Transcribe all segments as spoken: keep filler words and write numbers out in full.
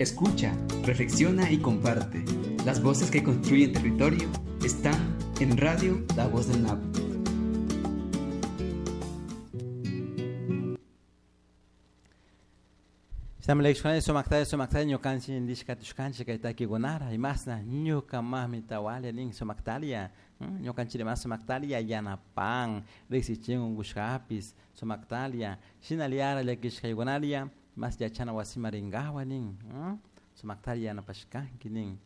Escucha, reflexiona y comparte. Las voces que construyen territorio están en Radio La Voz del Napo. Samlekshkani sumaktalla sumaktalla ñukanchik ndishkatushkanchik kay takikunara imasna ñuka mamita walia nin sumaktalia ñukanchik mas sumaktalia yanapan riqsichin unqushkapis sumaktalia shinaliara llakishkaykunalia mas yachana wasima rinkawa nin sumaktalia yanapashkanki nin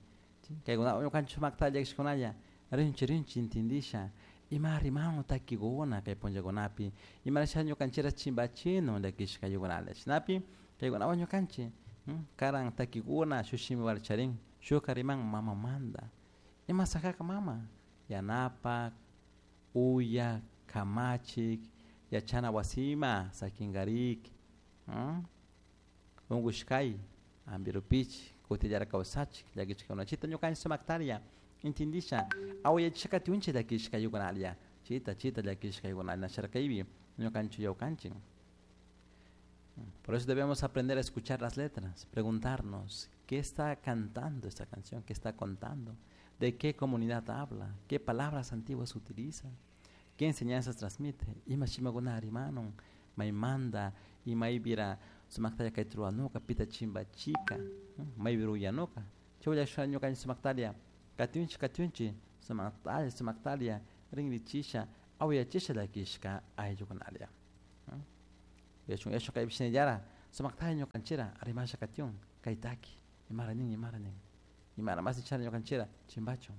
kaykuna ñukanchik sumaktalia llakishkunalla rinchi rinchi intindisha ima rimanu takikuna kay punllakunapi imarasha ñukanchira chimbachinu llakishkaykunalla shinapi kaykunawan ñukanchik karan takikuna shuk shimi charin shukka riman mamamanta ima sakaka mama yanapak uyak kamachik yachana wasima sakinkarik unkushkay ampirupich kutillara kawsachik llakichikkunachita ñukanchik sumaktaria intindisha awayachishka katiunchik llakishkaykunalla chita chita llakishkaykunalla nasharkaypi ñukanchik yawkanchik. Por eso debemos aprender a escuchar las letras, preguntarnos qué está cantando esta canción, qué está contando, de qué comunidad habla, qué palabras antiguas utiliza, qué enseñanzas transmite. Ima shimakuna rimanun, maymanta, imaybira sumaktalla kay truanuka, pita chimbachika, maybira uyanuka. Chawlla ñukanchik sumaktalia, katiunchik katiunchik, sumaktalla sumaktalia, rinrichisha, awayachisha llakishka ayllukunalia. Yachun yachun kaypi shinallara sumaktalla ñukanchira rimasha katiun kay taki imara nin imara nin imara mas chara ñukanchira chimbachun.